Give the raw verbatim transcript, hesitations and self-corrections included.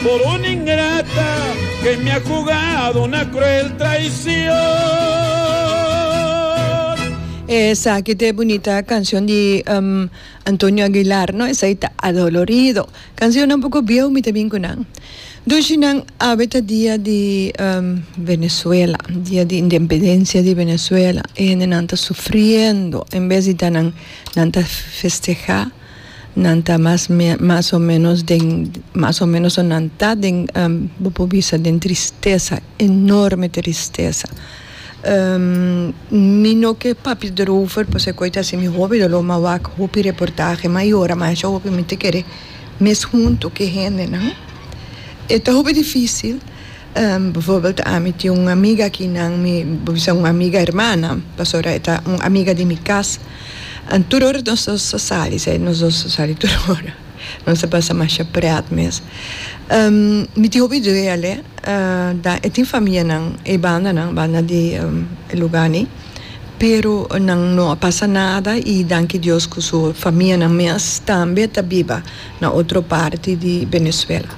Por una ingrata que me ha jugado una cruel traición. Esaki ta bunita cancion di um, Antonio Aguilar, no? Esaki ta "Adolorido". Cancion un poco bieu, mi tambe cu nan. Nan awe ta dia di um, Venezuela, dia di independencia di Venezuela. Y nan ta sufriendo, en bes di nan nan ta festeha, nan ta mas mas o menos den mas o menos nan ta den um, bisa den tristesa, enorme tristesa. Um, mi no ke papia erover, pasobra cu asina mi hopi lo m'a wak hopi reportahe, mayor, mas hopi mi ta kere mes hunto cu hende, no? Ta hopi dificil. Um, bijvoorbeeld, ami tin un amiga cu nan mi, un amiga hermana, pasobra ta un amiga di mi cas. En tur ora nos ta sali, nos ta sali tur ora. Nos ta pasa mas pret mes. Um, mi tin hopi duele, uh, da, e tin famia nan, e banda nan, banda di um, luga ni, pero nan no a pasa nada y danki Dios cu su famia nan mes tambe ta biba na otro parti di Venezuela.